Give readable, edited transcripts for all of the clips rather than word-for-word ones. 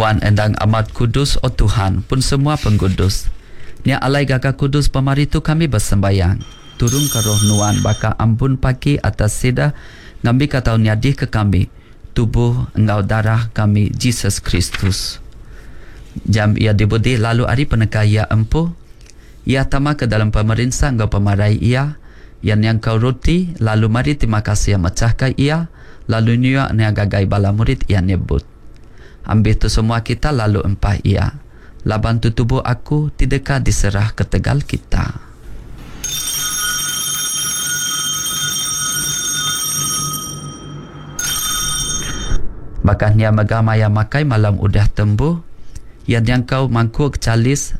Nuan endang amat kudus, O Tuhan, pun semua pengudus. Nya alai gaga kudus pemari tu kami besembayang. Turunka Roh Nuan baka ambun pagi atas sida, ngambika tau nyadika kami Tubuh enggau Darah kami Jesus Kristus. Jam Iya dibudi lalu ari peneka Iya empu, Iya tama ke dalam pemerinsa enggau pemarai Iya, Iya nyangkau roti, lalu meri terima kasih mechahka iya, lalu nyua nya ngagai bala murid Iya nyebut, Ambih tu semua kita lalu empah iya, laban tu tubuh Aku ti deka diserah ketegal kita. Baka nya mega maya makai malam udah tembu, iya nyangkau mangkuk chalis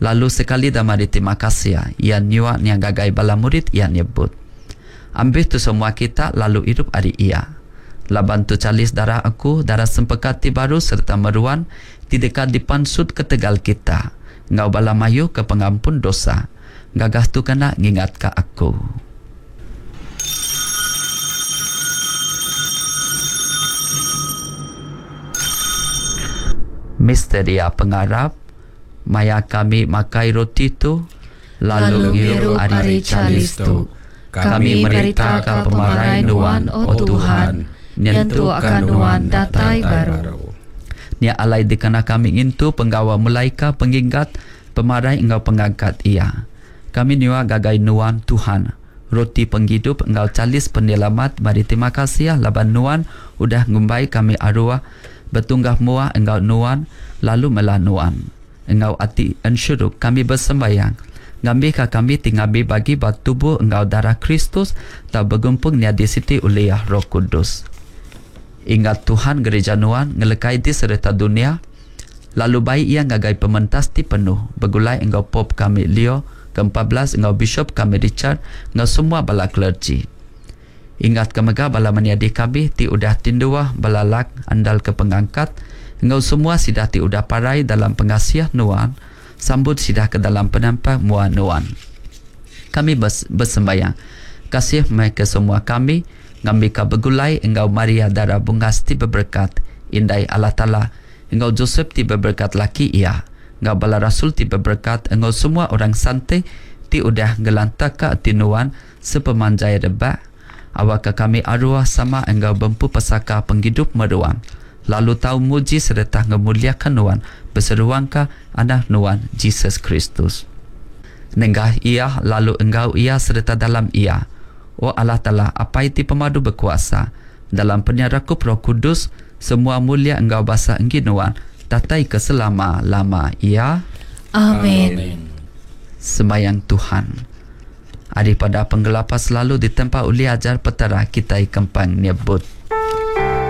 lalu sekali da meri terima kasih, iya nyua nya ngagai bala murid iya nyebut, Ambih tu semua kita lalu irup ari iya. Laban tu chalis darah aku, darah sempekat ti baru sereta meruan ti deka dipansut ketegal kita enggau bala mayuh ke pengampun dosa. Gagah tu kena ngingatka aku. Misteria pengarap, Maya kami makai roti tu lalu ngirup ari chalis tu, kami meritaka pemarai Nuan, O Tuhan, nyentukka Nuan datai baru. Nya alai dikena kami ngintu penggawa mulaika penginggat pemarai enggau pengangkat Iya. Kami nyua gagai Nuan, Tuhan, roti penggidup enggau chalis penyelamat meri terima kasih laban Nuan udah ngumbai kami aruh betunggah mua enggau Nuan lalu mela Nuan. Enggau ati ensuruk kami besembayang ngambika kami ti ngambi bagi ba tubuh enggau darah Kristus tau begumpung nyadi siti ulih Roh Kudus. Ingat Tuhan gerija Nuan ngelekai di sereta dunya, lalu bai iya ngagai pementas ti penuh begulai enggau Pope kami Leo ke 14 enggau Bishop kami Richard enggau semua bala clergy. Ingatka mega bala menyadi kami ti udah tinduh bala lak andalka pengangkat enggau semua sida ti udah parai dalam pengasih Nuan, sambut sida ke dalam penampak mua Nuan. Kami besembayang, kasih meh ke semua kami ngambika begulai enggau Maria Dara Bungas ti beberekat, Indai Allah Taala, enggau Josep ti beberekat laki iya, enggau bala rasul ti beberekat enggau semua orang sante ti udah ngelantaka ati nuan sepemanjai rebak, awakka kami aruh sama enggau bempu pesaka pengidup meruan, lalu tau muji sereta ngemuliaka nuan beseruangka Anak nuan, Jesus Kristus. Nengah Iya lalu enggau Iya sereta dalam Iya, O Allah Taala, Apai ti Pemadu Bekuasa, Dalam penyerakup Roh Kudus, semua mulia enggau basa enggi Nuan, datai ke selama-lama iya. Amin. Sembayang Tuhan. Ari pada penggelapa selalu ditempa ulih ajar Petara kitai kempang nyebut.